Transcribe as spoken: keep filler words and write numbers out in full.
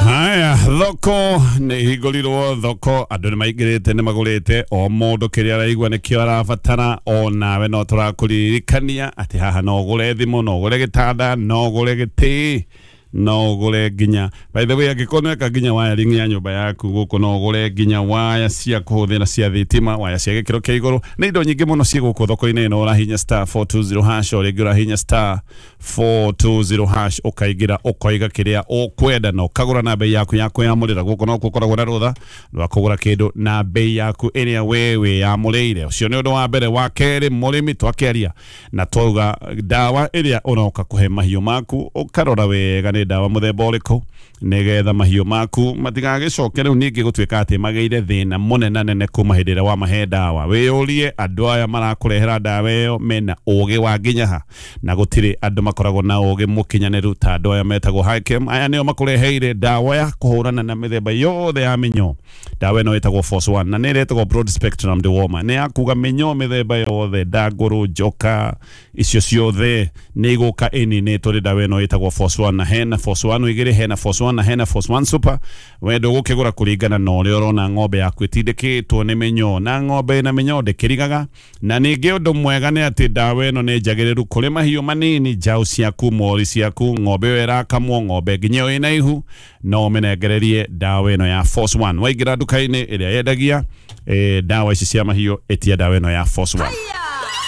Haya, thoko nä hingårirwo, thoko andå nä maingä rä te, nä magå rä te o må ndå kä rä a araigua nä kä o arabatara. Onawe no tå rakåririkania atä haha no å gå re thimå, no å gå re gä tanda, no å gå re gä tä, no å gå re nginya, by the way, angĩkorwo nĩweka nginya wiring ya nyũmba yaku, gũkũ no ũgũre nginya waya cia kũhũthĩra cia thitima, waya cia gĩkĩro kĩa igũrũ. Nĩ indo nyingĩ mũno ciĩ gũkũ thoko-inĩ ĩno. Ũrahinya star four two zero hash, o rĩngĩ ũrahinya star four two zero hash, ũkaingĩra, ũkoiga kĩrĩa ũkwenda na ũkagũra na bei yaku ya kwĩyamũrĩra. Gũkũ no gũkoragwo na rũtha rwa kũgũra kĩndũ na bei yaku ĩrĩa we wĩyamũrĩire. Ũcio nĩ ũndũ wa mbere. Wa kerĩ, mũrĩmi, twakĩaria na twauga ndawa ĩrĩa ũroka kũhe mahiũ maku, ũkarora wega nĩ ndawa mũthemba ũrĩkũ, nĩgetha mahiũ maku matigagĩcoke rĩu ningĩ gũtuĩka atĩ magĩire thĩna mũnene nene kuma hĩndĩ ĩrĩa wamahe ndawa. Wĩyũrie andũ aya marakũrehera ndawa ĩyo mena ũgĩ wa nginya ha, na gũtirĩ andũ makoragwo na ũgĩ mũkinyanĩru ta andũ aya metagwo Hikem. Aya nĩo makũreheire ndawa ya kũhũrana na mĩthemba yothe ya mĩnyoo. Ndawa ĩno ĩtagwo Force One na nĩ ĩretagwo broad spectrum dewormer. Nĩ ya kuga mĩnyoo mĩthemba yothe, ndangũrũ, njoka, icio ciothe nĩ igũka ĩninĩtwo nĩ ndawa ĩno ĩtagwo Force One. Na hena Force One igĩrĩ, hena Force One na hena Force One Super. We ndũgũkĩgũra kũringana na ũrĩa ũrona ng'ombe yaku ĩtindĩkĩtwo nĩ mĩnyoo, na ng'ombe ĩna mĩnyoo ndĩkĩrigaga. Na ningĩ ũndũ mwega nĩ atĩ ndawa ĩno nĩ njagĩrĩru kũrĩ mahiũ manini, njaũ ciaku, mori ciaku, ng'ombe ĩyo ĩrakamwo, ng'ombe nginya ĩyo ĩna ihu, no ũmĩnengererie ndawa ĩno ya Force One. Waingĩra nduka-inĩ ĩrĩa yendagia eh, ndawa ici cia mahiũ, ĩtia ndawa ĩno ya Force One.